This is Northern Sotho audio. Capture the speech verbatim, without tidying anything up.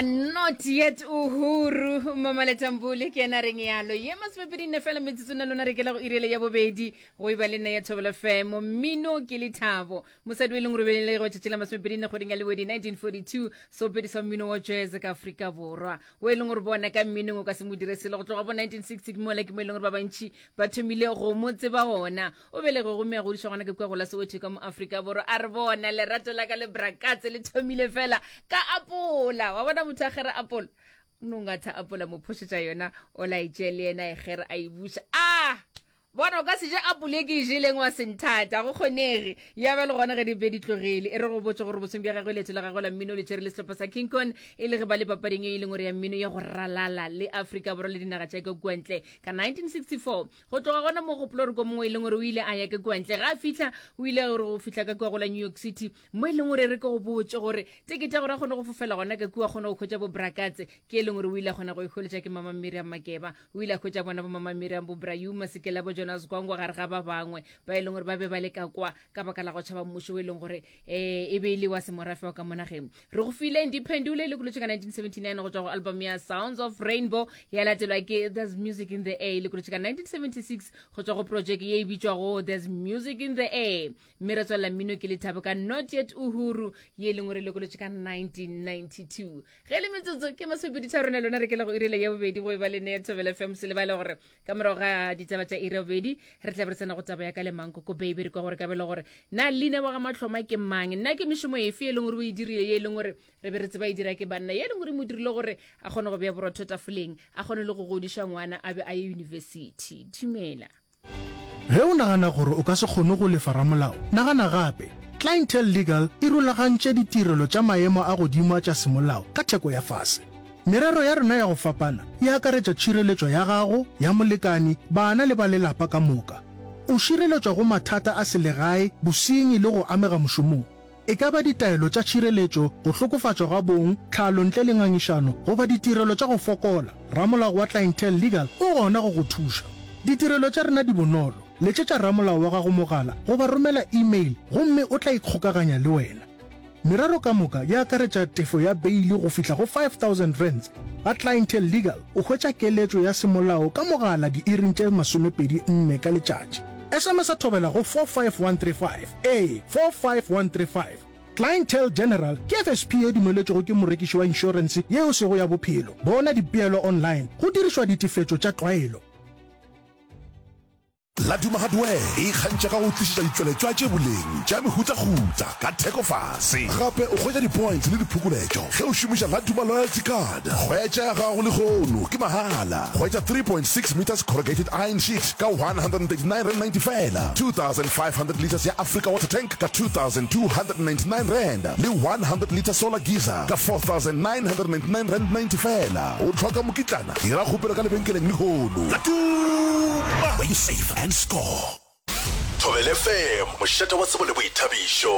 Not yet Uhuru Mamaletambule ke yena reng yalo ye masomepedi nne fela metsotso na lona re kela go irele ya bobedi go e ba le nna ya Thobela F M. Mmino ke lethabo. Mosadi o e leng gore belele go tšatši la masomepedi nne kgweding ya Lewedi nineteen forty-two, seopedi sa mmino wa jazz ka Afrika Borwa, o e leng gore bona ka mminong o ka se mo dire selo go tloga bo nineteen sixty, ke mola ke mo e leng gore ba bantši ba thomile go mo tseba gona. O belege gomme a godišwa gona ke kua gola Soweto ka mo Afrika Borwa. A re bona lerato la ka le brakatse le thomile fela ka apola. Wa bona motho a gere apola, o no ngatha apola, mo phošetša yona, o laetše le yena e gere a e buša. A bona o ka se je apole e ke e jeleng wa senthata, go kgonege ya ba le gona ge di be di tlogele. E re go botse gore bosong bja gagwe leeto la gagwe la mmino le tšere le sehlopha sa King Kong, e le ge ba le papading e e leng gore ya mmino ya go ralala le Afrika Borwa le dinaga tša ka kua ntle ka nineteen sixty-four. Go tloga gona mo gopolo gore ko mongwe e leng gore o ile a ya ka kua ntle, ga a fitlha o ile gore go fitlha ka kua go la New York City, mo e leng gore re ke go botse gore tekete ya gore a kgone go fofela gona ka kua, kgone go hwetša bo brakatse, ke e leng gore o ile a kgona go ikgoletša ke Mama Miriam Makeba. O ile a hwetša bona bo Mama Miriam, bo Brayuma Sekela, bo Jonas Gwangwa gare ga ba bangwe ba e leng gore ba be ba le ka kwa ka baka la go tšhaba mmušo o e leng gore um e be e le wa semorafe wa ka mo nageng. Re go file Ndiphendule, le kolotše ka nineteen seventy-nine go tšwa go album ya Sounds of Rainbow, ya latelwa ke There's Music in the Air, le kolotše ka nineteen seventy-six go tšwa go project ye e bitšwago There's Music in the Air. Mme re tswelela mmino ke lethabo ka Not Yet Uhuru, ye e leng gore le kolotše ka nineteen ninety-two. Ge le metsotso ke masomepedi tharo rena lona re kela go irile ya bobedi go e ba le ne ya Thobela F M. Se lebale gore ka morago ga ditaba tša iri ya bobedi re tla be re tsena go taba ya ka le Mankoko Baby. Re kwa gore kabelo gore na leina wa ga Matlhoma ke mang, nna ke mešomo efe e leng gore o e dirile ye e leng gore re be re tseba e dira ke banna, ye e leng gore mo dirile gore a kgone go bea borotho tafoleng, a kgone le go godiša ngwana a be a ye university. Dumela. Ge o nagana gore o ka se kgone go lefa ramolao, nagana gape. Clientele Legal e rulagantše ditirelo tša maemo a godimo a tša semolao ka theko ya fase. Merero ya rena ya go fapana e akaretša tšhireletšo ya gago, ya molekani, bana le ba lelapa ka moka. O šireletšwa go mathata a selegae, bosenyi le go amega mošomong. E ka ba ditaelo tša tšhireletšo, go hlokofatšwa ga bong, tlhalo ntle le ngangišano, goba ditirelo tša go fokola, ramolao wa Clientele Legal o gona go go thuša. Ditirelo tša rena di bonolo. Letšetša ramolao wa gago mogala goba romela email gomme o tla ikgokaganya le wena. Merero ka moka e akaretša tefo ya beile go fihla go five thousand rands. Ga Clientele Legal o hwetša keletšo ya semolao ka mogala diiring tše masomepedi nne ka letšatši. S M S a thobela go four five one three five, ee, four five one three five. Clientele General ke F S P ye dumeletšwego ke morekiši wa inšorense yeo sego ya bophelo. Bona dipeelo online go dirišwa ditefetšo tša tlwaelo. Laduma Hardware e ikgantšha ka go tlišetša ditšweletšwa tše boleng tša mehutahuta ka theko fase. Gape o hwetša di-points le diphokoletšo ge o šomiša Laduma Loyalty Card. Hwetša ya gago lehono ke mahala. Hwetša three point six meters corrugated iron sheet ka one hundred thirty-nine rand ninety fela, two thousand five hundred liters ya Africa water tank ka two thousand two hundred ninety-nine rand le one hundred liter solar geyser ka four thousand nine hundred ninety-nine rand ninety fela. O hloka mokitlana? Dira kgopelo ka lebenkeleng lehono. Laduma, where you save and score. Thobela F M, mošate wa tsebo le boithabišo.